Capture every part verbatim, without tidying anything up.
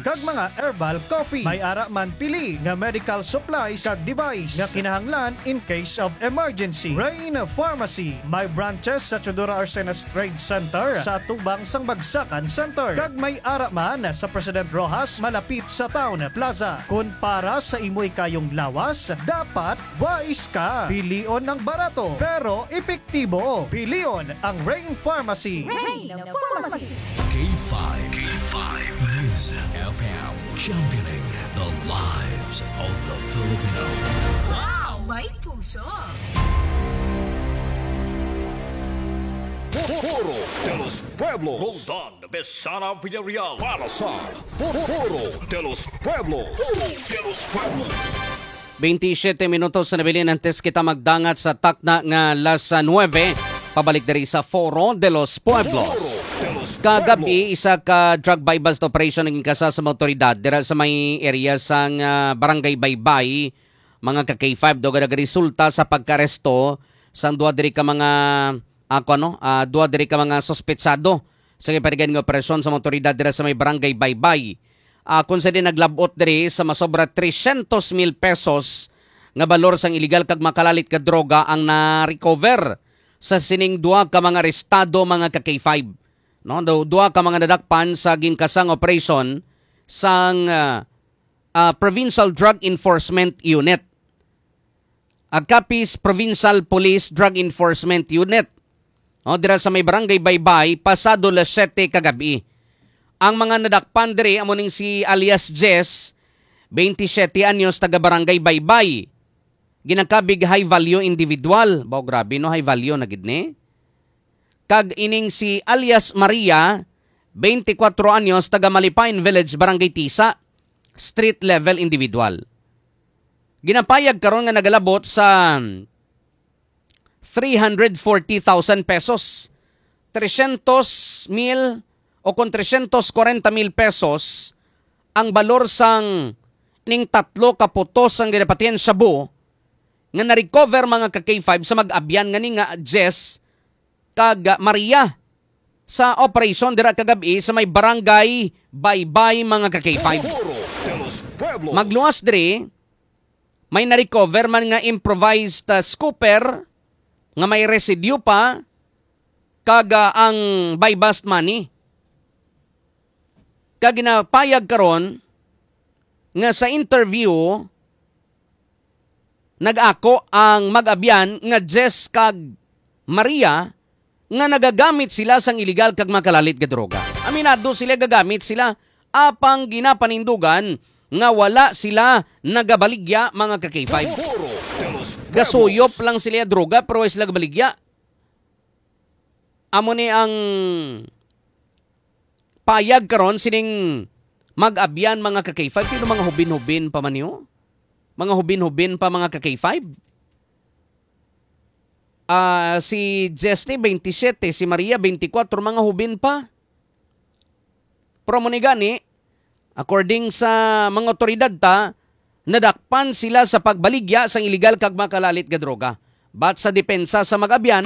kag mga herbal coffee. May ara man pili nga medical supplies kag device nga kinahanglan in case of emergency. Rain Pharmacy may branches sa Teodoro Arcenas Trade Center sa atubang sang Bagsakan Center, kag may ara man sa President Roxas malapit sa Town Plaza. Kun para sa imo ikayong lawas, dapat wais ka. Pilion ang barato pero epektibo. Pilion ang Rain Pharmacy. Rain Pharmacy. K five. K five News F M, championing the lives of the Filipino. Wow, may puso. Foro de los Pueblos. Roldan Besana Villarreal para sa Foro de los Pueblos. Foro de los Pueblos. Twenty-seven minutos na nabilin antes kita magdangat sa takna nga alas nuebe. Pabalik diri sa Foro de los Pueblos. Foro de los Kagabi, Pueblos. Isa ka drug buy-bust operation ang inkasa sa mga otoridad dira sa may area sang, ah, Barangay Baybay, mga ka K five, daw nagresulta sa pagkaresto sang duha diri ka mga, ah, kuwan, no? Ah, duha diri ka mga suspetsado sa giparigan nga operasyon sa mga otoridad dira sa may Barangay Baybay. Ah, kung sa din naglabot diri sa masobra tresyentos mil pesos nga balor sang iligal kag makalalit nga droga ang na-recover sa sining duha ka mga arestado, mga ka K five. No, du-, duha ka mga nadakpan sa ginkasang operation sang, ah, ah, Provincial Drug Enforcement Unit. Ah, Capiz Provincial Police Drug Enforcement Unit. O, dira sa may Barangay Baybay, pasado las siyete kagabi. Ang mga nadakpan diri amo ning si alias Jess, twenty-seven anyos, taga Barangay Baybay. Ginakabig high value individual. Baw, grabe, no? High value na gid ni. Kag ining si alias Maria, twenty-four anyos, taga Malipain Village, Barangay Tisa, street level individual. Ginapayag karon nga nagalabot sa three hundred forty thousand pesos. Tresyentos mil o kon tresyentos kwarenta mil pesos ang balor sang ning tatlo ka putos sang ginapatihan shabu nga na-recover, mga ka K five, sa mag-abyan nga ni nga Jess kag Maria sa operasyon dira kagabi sa may Barangay Baybay, mga ka K five. Foro de los Pueblos. Magluwas diri, may na-recover man nga improvised, ah, scooper nga may residue pa kag, ah, ang buy-bust money. Kag ginapayag karon nga sa interview, nag-ako ang mag-abyan nga Jess kag Maria nga nagagamit sila sang iligal kag makalalit nga droga. Aminado sila gagamit sila, apang ginapanindugan nga wala sila nagabaligya, mga ka K five. Foro de los Pueblos. Gasuyop lang sila droga pero wala sila gabaligya. Amo ni ang payag karon sining mag-abyan, mga ka K five. Sino, mga hubin-hubin pa man niyo? Mga hubin-hubin pa, mga ka K five? Ah, si Jesty, twenty-seven, si Maria, twenty-four, mga hubin pa. Pero mo ni gani, according sa mga otoridad ta, nadakpan sila sa pagbaligya sang iligal kag makalalit nga droga. But sa depensa sa mag-abyan,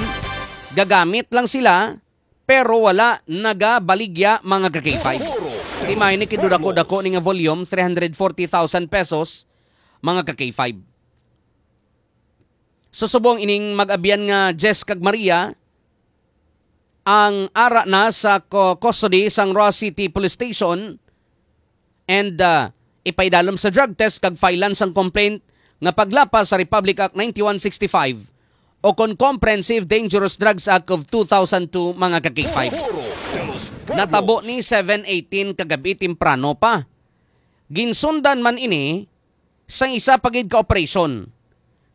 gagamit lang sila, pero wala nagabaligya, mga ka K five. Di may ni kidudako-dako ni nga volume, three hundred forty thousand pesos, mga ka K five. So, subong ining mag-abyan nga Jess kag Maria, ang ara na sa co-, custody sang Roxas City Police Station, and, ah, ipaidalom sa drug test kag filean sang complaint nga paglapas sa Republic Act ninety-one sixty-five o kon Comprehensive Dangerous Drugs Act of two thousand two, mga ka K five. Natabo ni seven eighteen kagabi, temprano pa. Ginsundan man ini sang isa pa gid ka operasyon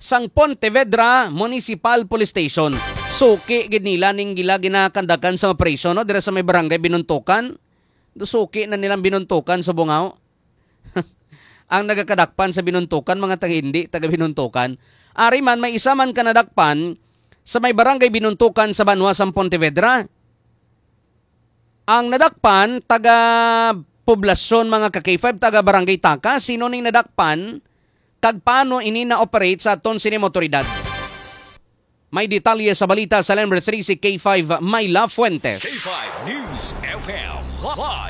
sang Pontevedra Municipal Police Station. Suki gid nila ning gila ginakandakan sa operasyon, no, dira sa may barangay Binuntukan. Do suki na nilang Binuntukan sa Bungao. Ang nagakadakpan sa Binuntukan, mga taga, hindi taga Binuntukan. Ari man, may isa man ka nadakpan sa may barangay Binuntukan sa banwa sang Pontevedra. Ang nadakpan, taga poblasyon, mga ka K five, taga Barangay Taka. Sino ning nadakpan? Kag paano ini na-operate sa aton sining mga otoridad? May detalye sa balita sa Number Three si K five Myla Fuentes. K five News F M, live